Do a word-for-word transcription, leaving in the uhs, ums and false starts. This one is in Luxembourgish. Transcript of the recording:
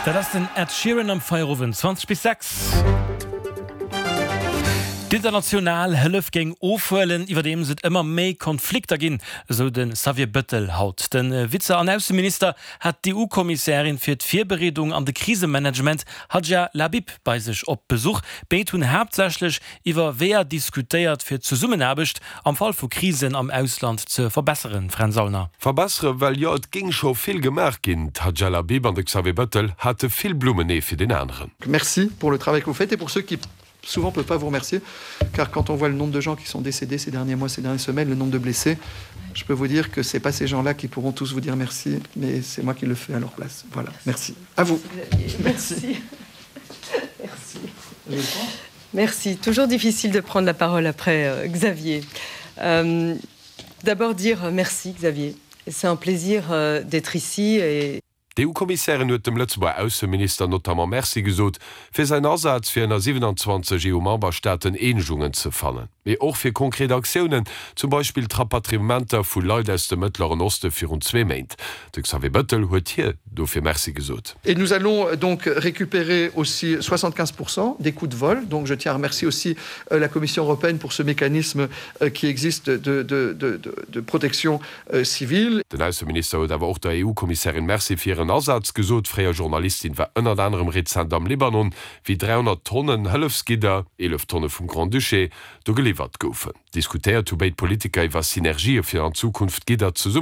Dat ass den Ed Sheeran am Feierowend zwanzeg bis sechs. D'international Hëllef géing ofhuelen, iwwerdeems et ëmmer méi Konflikter ginn, esou de Xavier Bëttel haut. De Vize an Ausseminister hat d'EU-Kommissärin fir d'Virbereedung an de Krisemanagement Hadja Lahbib bei sech op Besuch. Béid hunn haaptsächlech iwwer Weeër diskutéiert, fir d'Zesummenaarbecht am Fall vu Krisen am Ausland ze verbesseren. Fränz Aulner. Verbessere well jo et géing scho vill gemaach ginn. D'Hadja Lahbib an de Xavier Bëttel hate vill Blummen ee fir deen aneren. Merci pour le travail que vous faites et pour ceux qui souvent peuvent pas vous remercier car quand on voit le nombre de gens qui sont décédés ces derniers mois, ces dernières semaines, le nombre de blessés, je peux vous dire que c'est pas ces gens-là qui pourront tous vous dire merci, mais c'est moi qui le fais à leur place. Voilà, merci. À vous. Merci. Merci. Merci. Toujours difficile de prendre la parole après euh, Xavier. Euh, D'abord dire merci Xavier. C'est un plaisir euh, d'être ici et D'EU-Kommissärin huet dem Lëtzebuerger Ausseminister notamment Merci gesot fir säin Asaz fir ënner siewenanzwanzeg EU-Memberstaaten Eenegungen ze fannen, mee och fir konkret Aktiounen, zum Beispill d'Rapatriementer vu Leit aus dem Mëttleren Oste virun zwee Méint. De Xavier Bëttel huet hir dofir Merci gesot. Et nous allons donc récupérer aussi soixante-quinze pour cent des coûts de vol. Donc je tiens à remercier aussi la Commission européenne pour ce mécanisme qui existe de, de, de, de, de protection civile. Den Ausseminister huet awer och der EU-Kommissärin Merci fir hiren Asaz gesot. D'fréier Journalistin war ënnert anerem rezent am Libanon, wéi dräihonnert Tonnen Hëllefsgidder, eelef Tonne vum Grand-Duché, do geliwwert goufen. Diskutéiert hu béid Politiker iwwer Synergië fir an Zukunft Gidder zesummen